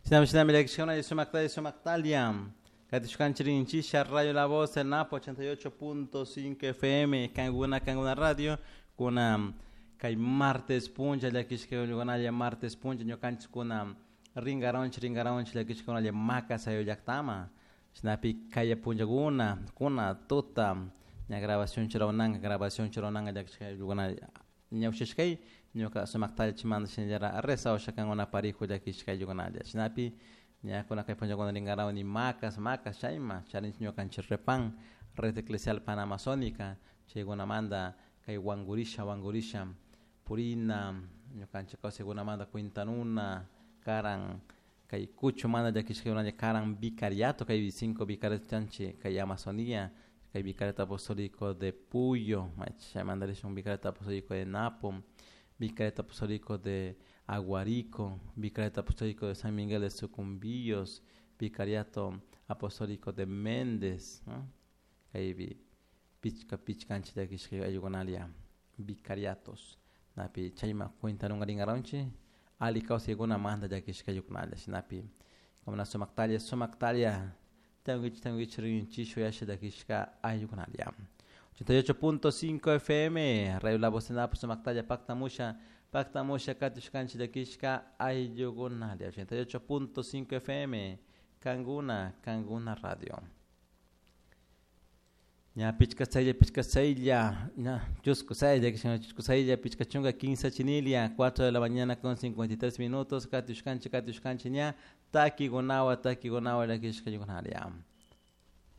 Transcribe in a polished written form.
Shinami shinami llakishkuna sumaktalla sumaktalla katishkanchik rinchisha Radio La Voz el Napo 88.5 FM Kanguna Kanguna Radio kuna kay martes puncha llakishkakunalla martes puncha ñukanchik kuna rinkaranchik rinkaranchik llakishkakunalla Macas ayllu llaktama shinapi kaya punchakuna kuna tuta ña grabación churawananka grabación churawananka llakishka ayllukunalla ñawshashkay ñuka sumaktalla chimanta shinallara rezawasha kankuna parijo llakishka ayllukunalla shinapi ña kuna kay punchakuna rinkarawani Macas Macas chayma charinchik ñukanchik repan red eclesial panamazónica chaykunamanta kay wankurisha wankurisha purina ñukanchik kawsaykunamanta cuentanuna karan kay kuchumanta llakishkakunalla karan vicariato kay cinco vicariato chanchik kay Amazonía kay vicariato apostólico de Puyo chaymanta rishun vicariato apostólico de Napo, vicariato apostólico de Aguarico, vicariato apostólico de San Miguel de Sucumbíos, vicariato apostólico de Méndez, ¿no? Kaypi pichka pichkanchik llakishka ayllukunalla vicariatos napi chayma cuentanunka rinkaranchik alli kawsaykunamanta llakishka ayllukunalla shinapi kankuna sumaktalla sumaktalla tanguich tanguich rinchik uyasha llakishka ayllukunalla. 88.5 FM Radio La Voz de Napo sumaktalla paktamusha paktamusha katushkanchik llakishka ayllukunalla 88.5 FM Kanguna Kanguna Radio. Ña pichka saylla pichka saylla ña chusku saylla chusku saylla pichka chunka quince chinilia 4 de la mañana con 53 minutos katushkanchik katushkanchik ña takikunawan takikunawan llakishka ayllukunalla.